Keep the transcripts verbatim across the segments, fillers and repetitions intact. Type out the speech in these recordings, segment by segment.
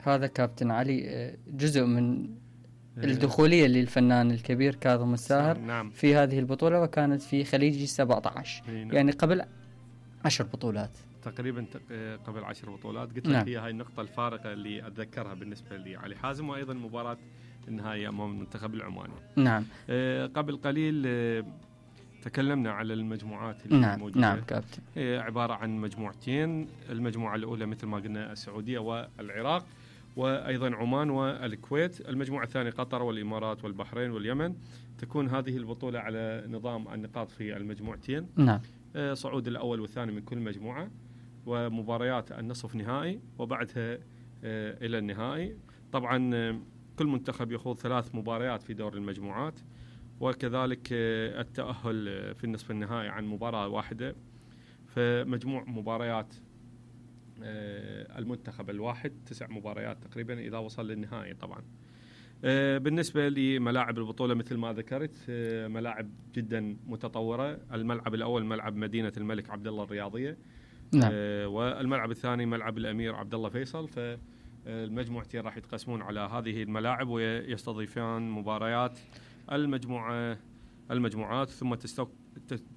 هذا كابتن علي جزء من الدخولية للفنان الكبير كاظم الساهر نعم. في هذه البطولة، وكانت في خليج سبعة عشر، نعم. يعني قبل عشر بطولات تقريبا قبل عشر بطولات. قلت نعم. لك هي هاي النقطة الفارقة اللي أتذكرها بالنسبة لي علي حازم، وأيضا مباراة النهائي أمام المنتخب العماني. نعم. قبل قليل تكلمنا على المجموعات اللي نعم. موجودة. نعم كابتن. هي عبارة عن مجموعتين، المجموعة الأولى مثل ما قلنا السعودية والعراق، وأيضا عمان والكويت. المجموعة الثانية قطر والإمارات والبحرين واليمن. تكون هذه البطولة على نظام النقاط في المجموعتين. نعم. صعود الأول والثاني من كل مجموعة، ومباريات النصف نهائي، وبعدها إلى النهائي. طبعا كل منتخب يخوض ثلاث مباريات في دور المجموعات، وكذلك التأهل في النصف النهائي عن مباراة واحدة. فمجموع مباريات المنتخب الواحد تسع مباريات تقريبا إذا وصل للنهائي. طبعا بالنسبة لملاعب البطولة مثل ما ذكرت، ملاعب جدا متطورة. الملعب الأول ملعب مدينة الملك عبدالله الرياضية. نعم. والملعب الثاني ملعب الأمير عبدالله فيصل. فالمجموعتين راح يتقسمون على هذه الملاعب ويستضيفان مباريات المجموعة المجموعات، ثم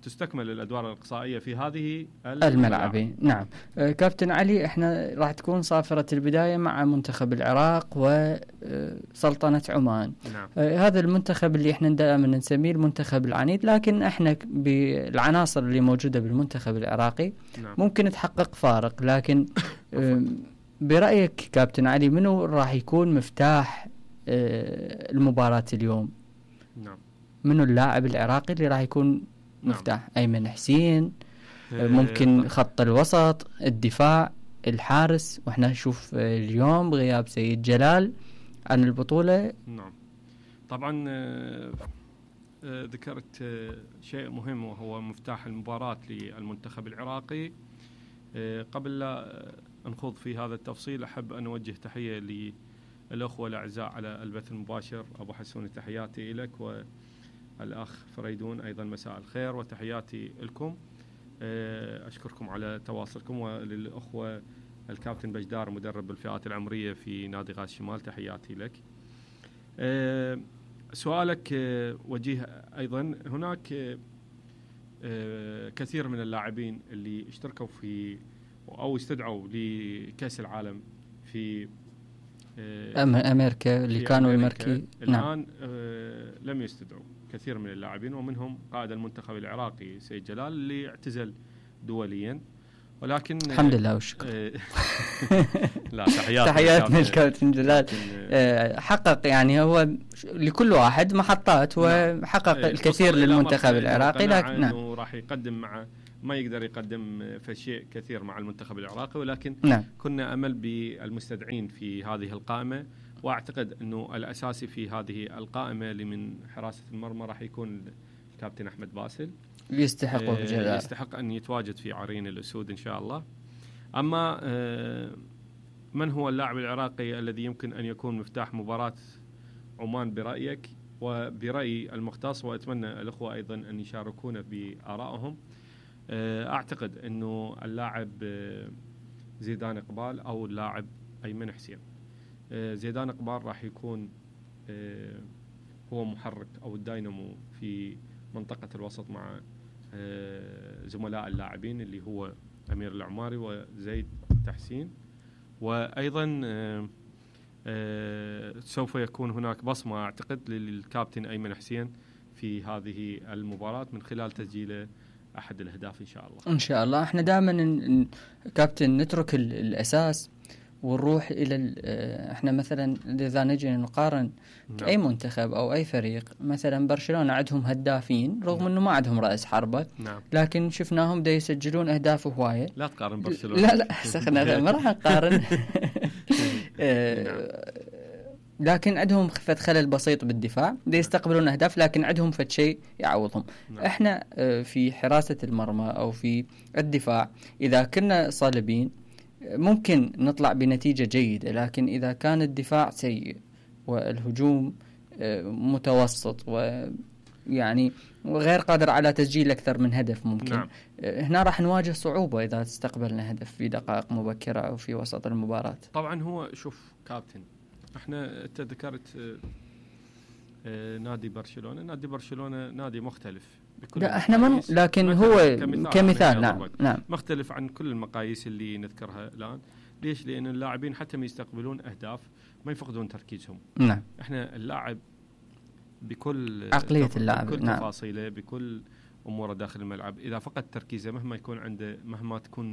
تستكمل الأدوار الإقصائية في هذه الملعبين. نعم. كابتن علي، احنا راح تكون صافرة البداية مع منتخب العراق وسلطنة عمان. نعم. هذا المنتخب اللي احنا دائما نسميه المنتخب العنيد، لكن احنا بالعناصر اللي موجودة بالمنتخب العراقي نعم. ممكن تحقق فارق. لكن برأيك كابتن علي، منو راح يكون مفتاح المباراة اليوم؟ نعم. منو اللاعب العراقي اللي راح يكون مفتاح؟ نعم. أيمن حسين، ممكن خط الوسط، الدفاع، الحارس. وإحنا نشوف اليوم غياب سيد جلال عن البطولة. نعم. طبعا ذكرت شيء مهم وهو مفتاح المباراة للمنتخب العراقي. قبل لا نخوض في هذا التفصيل، أحب أن أوجه تحية للأخوة الأعزاء على البث المباشر. أبو حسون تحياتي لك، والأخ فريدون أيضا مساء الخير وتحياتي لكم. أشكركم على تواصلكم، وللأخوة الكابتن بجدار مدرب الفئات العمرية في نادي غاز شمال تحياتي لك. سؤالك وجيه أيضا. هناك كثير من اللاعبين اللي اشتركوا في أو استدعوا لكأس العالم في أمريكا اللي كانوا المركي الآن. نعم. آه لم يستدعوا كثير من اللاعبين، ومنهم قائد المنتخب العراقي سيد جلال اللي اعتزل دوليا. ولكن الحمد لله والشكر. آه لا تحياتنا تحياتنا الكابتن جلال. آه حقق يعني هو لكل واحد محطات، وحقق نعم. الكثير للمنتخب العراقي، لكن نعم. راح يقدم مع ما يقدر يقدم في شيء كثير مع المنتخب العراقي، ولكن نعم. كنا أمل بالمستدعين في هذه القائمة. وأعتقد أنه الأساسي في هذه القائمة اللي من حراسة المرمى راح يكون الكابتن أحمد باسل. يستحق آه يستحق أن يتواجد في عرين الأسود إن شاء الله. أما آه من هو اللاعب العراقي الذي يمكن أن يكون مفتاح مباراة عمان برأيك وبرأي المختص؟ وأتمنى الأخوة أيضا أن يشاركونا بآرائهم. أعتقد أنه اللاعب زيدان إقبال أو اللاعب أيمن حسين. زيدان إقبال راح يكون هو محرك أو الداينامو في منطقة الوسط مع زملاء اللاعبين اللي هو أمير العماري وزيد تحسين. وأيضا سوف يكون هناك بصمة أعتقد للكابتن أيمن حسين في هذه المباراة من خلال تسجيله أحد الأهداف إن شاء الله. إن شاء الله. إحنا دائما كابتن نترك الأساس ونروح إلى إحنا مثلا إذا نجي نقارن نعم. أي منتخب أو أي فريق، مثلا برشلونة عندهم هدافين رغم نعم. أنه ما عندهم رأس حربة نعم. لكن شفناهم دا يسجلون أهداف هواية. لا تقارن برشلونة. لا لا سخنا ما راح نقارن. لكن عندهم فد خلل بسيط بالدفاع، دا يستقبلون أهداف لكن عندهم فد شيء يعوضهم. نعم. احنا في حراسة المرمى أو في الدفاع إذا كنا صلبين ممكن نطلع بنتيجة جيدة، لكن إذا كان الدفاع سيء والهجوم متوسط يعني غير قادر على تسجيل أكثر من هدف ممكن. نعم. هنا راح نواجه صعوبة إذا استقبلنا هدف في دقائق مبكرة أو في وسط المباراة. طبعا هو شوف كابتن، احنا انت ذكرت اه اه نادي برشلونة. نادي برشلونة نادي مختلف بكل لا احنا من لكن هو كمثال, كمثال نعم نعم مختلف عن كل المقاييس اللي نذكرها الآن. ليش؟ لأن اللاعبين حتى ما يستقبلون أهداف ما يفقدون تركيزهم. نعم. احنا اللاعب بكل عقلية اللاعب، بكل نعم. تفاصيله، بكل أموره داخل الملعب، إذا فقد تركيزه مهما يكون عنده، مهما تكون